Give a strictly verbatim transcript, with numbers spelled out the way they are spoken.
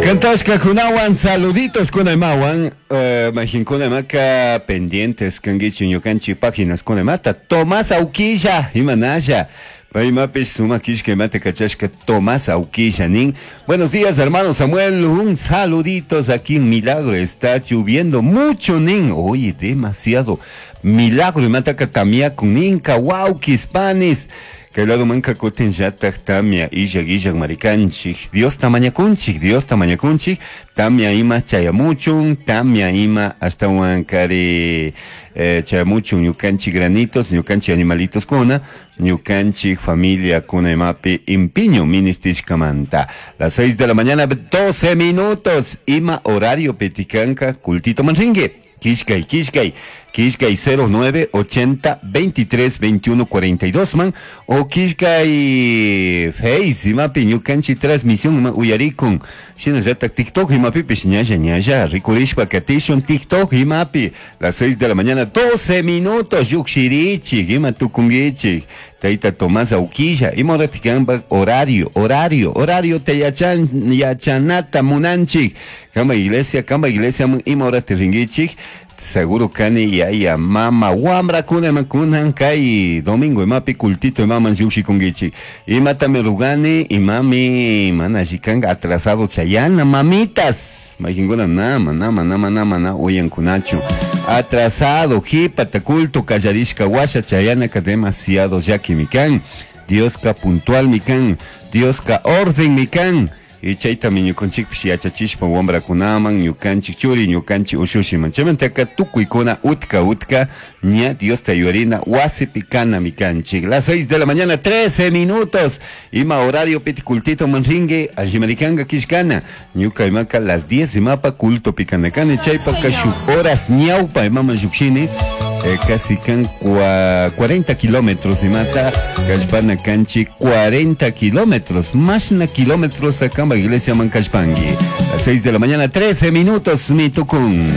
Kantashka kunawan saluditos kunaymawan uh, mahinkunamaka pendientes kankichu ñukanchik páginas kunamata Tomás Auquilla imanalla Paymapish sumak kishka imata kachashka Tomás Auquilla nin. Buenos días, hermano Samuel, un saluditos aquí en Milagro, está lloviendo mucho nin. Oye, demasiado. Milagro imataka tamiakun ninka wawkis panis. Kay lado manka kutin llatak tamia illak illak marikanchik. Diosta mañakunchik, Diosta mañakunchik. Tamia ima chayamuchun, tamia ima ashtawan kari eh, chayamuchun ñukanchik granitos, ñukanchik animalitos kuna, ñukanchik familia kuna imapi impiño ministishkamanta. Las seis de la mañana, doce minutos. Ima horario petikanka, cultito manringue. Kishkay, Kishkay, Kishkay cero nueve ochenta veintitrés veintiuno cuarenta y dos man, o Kishkay Face, imapi ñukanchi transmisión ima uyarikun, shinallata TikTok imapipish ñalla ñalla, rikurishpa katishun TikTok imapi, las seis de la mañana, doce minutos, yukshirichik, ima tukunguichik, Taita Tomás Auquilla, ima horatikanpak horario, horario, horario te yachan, yachanata munanchik, kamba iglesia, kamba iglesia, ima horati ringuichik, seguro kani yaya mama wamra kuna ima kunan kay domingo imapi cultito imaman llukshikunkichik imatami rugani imami mana allikanga atrasado chayana mamitas mayqinkuna nama nama nama nama na uyankunachu atrasado jipata culto kallarishka washa chayanaka demasiado llakimi kan Dioska puntual mi kan Dioska orden mi kan y chaytami ñukanchikpish yachachishpa wamrakunaman ñukanchik churi ñukanchik ushushiman chaymantaka tukuykuna utka utka ña Diosta yuyarina wasipi kanami kanchik. Las seis de la mañana trece minutos ima horario piti cultito manringue allimarikanga kishkana ñuka imaka las diez imapa culto pikanakani chaypaka shuk horas ñawpa imaman llukshini eh, casi kan cua, cuarenta kilómetros imata kallpana kanchik cuarenta kilómetros mashna kilómetros takamba iglesia man kallpangi. Las seis de la mañana trece minutos mi tukun.